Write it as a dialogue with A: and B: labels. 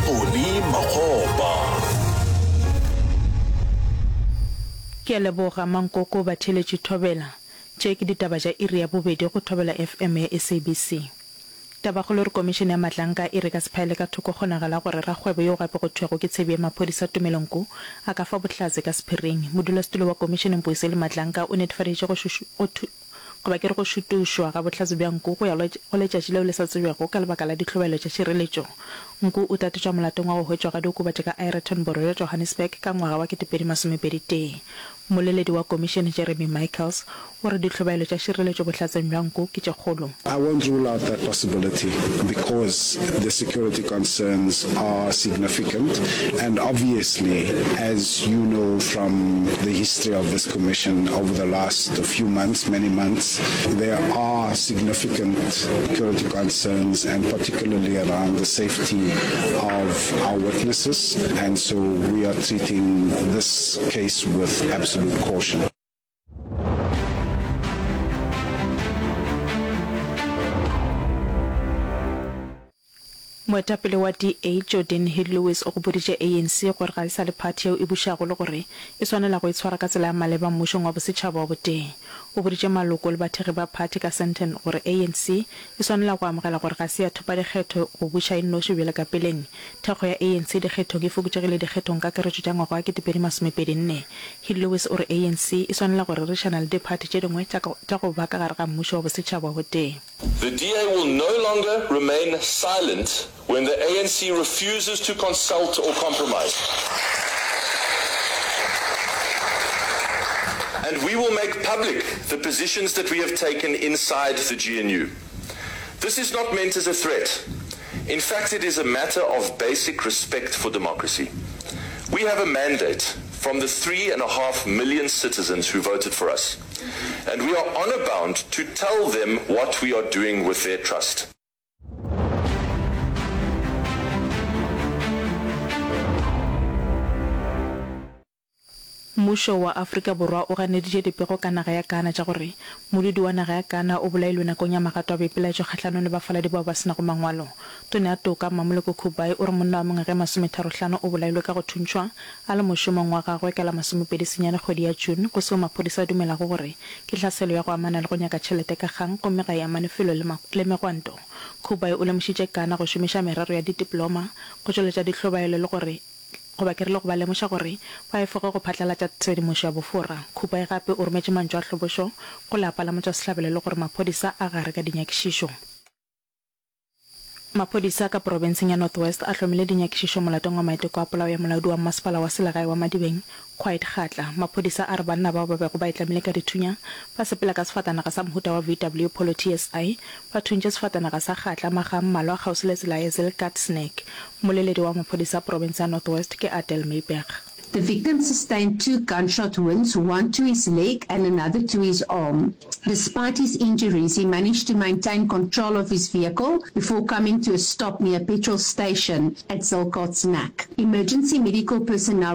A: Poni Makgopa.
B: Ke a leboga Mankoko Batheeletši Thobela. Tše ke ditaba tša iri ya bobedi go Thobela FM ya SABC. Tabakgolo e re Komišene ya Matlanka e re ka se phaele ka thoko kgonagalo ya gore rakgwebo yo gape go thwego ke tshebi ya maphodisa Tumelo Nku a ka fa bohlatse ka sephiring. Modulasetulo wa komišene Mpuiseli Matlanka o netefaditše go go goba ke re go šutušwa ga bohlatse bja Nku go ya go letšatši leo le sa tsebjego ka lebaka la dihlobaelo tša tšhireletšo. Nku o tatetšwa molatong wa go hwetšwa ga diokobatši ka Aeroton borwa bja Johannesburg ka ngwaga wa 2021. Mmoleledi wa komišene Jeremy Michaels o re dihlobaelo tša šireletšo bohlatseng bja nku ke tše kgolo.
C: I won't rule out that possibility because the security concerns are significant and obviously as you know from the history of this commission over the last few months, many months, there are significant security concerns and particularly around the safety of our witnesses and so we are treating this case with absolute caution.
B: Moetapele wa DA, Geordin Hill-Lewis o gopoditše ANC gore ga e sa le phathi yeo e bušago le gore e swanela go itshwara ka tsela ya maleba mmušong wa bosetšhaba wa botee. O boditše maloko le bathekgi ba phathi ka Sandton gore ANC e swanela go amogela gore ga se ya thopa dikgetho go buša e nnoši bjalo ka peleng. Thekgo ya ANC dikgethong e fokotšegile dikgethong kakaretšo tša ngwaga wa 2024. Hill-Lewis o re ANC e swanela go rerišana le diphathi tše dingwe tša tša go ba ka gare ga mmušo wa bosetšhaba wa botee.
D: The DA will no longer remain silent when the ANC refuses to consult or compromise. And we will make public the positions that we have taken inside the GNU. This is not meant as a threat. In fact, it is a matter of basic respect for democracy. We have a mandate from the 3.5 million citizens who voted for us, and we are honor-bound to tell them what we are doing with their trust.
B: Mmušo wa Afrika Borwa o ganeditše dipego ka naga ya Ghana tša gore modudi wa naga ya Ghana o bolailwe nakong ya magato a boipelaetšo kgahlanong le bafaladi bao ba se nago mangwalo. Tona ya Toka, Mmamoloko Kubayi o re monna wa mengwaga e masometharohlano o bolailwe ka go thuntšhwa a le mošomong wa gagwe ka la masomepedi senyane kgwedi ya June go seo maphodisa a dumelago gore ke hlaselo ya go amana le go nyaka tšhelete ka kgang gomme ga e amane felo le le megwanto. Kubayi o lemošitše Ghana go šomiša merero ya ditiploma go tšweletša dihlobaelo le gore Goba ke rile go ba lemoša gore ba efoge go phatlalatša tshedimošo ya bofora. Khupae gape o rometše mantšu a hlobošo go lapa la motšwasehlabelo le gore maphodisa a gare ka dinyakišišo. Maphodisa ka porobenseng ya North West a hlomile dinyakišišo molatong wa maiteko a polao ya molaodi wa mmasepala wa selegae wa Madibeng, Quiet Kgatla. Maphodisa a re banna bao ba bego ba itlamile ka dithunya ba sepela ka sefatanaga sa mohuta wa VW Polo TSI ba thuntše sefatanaga sa Kgatla makga a mmalwa kgauswi le tsela ya Zilkatsnek. Mmoleledi wa maphodisa a profense ya North West ke Adele Myburgh.
E: The victim sustained two gunshot wounds, one to his leg and another to his arm. Despite his injuries, he managed to maintain control of his vehicle before coming to a stop near a petrol station at Zilkartsnek. Emergency medical personnel.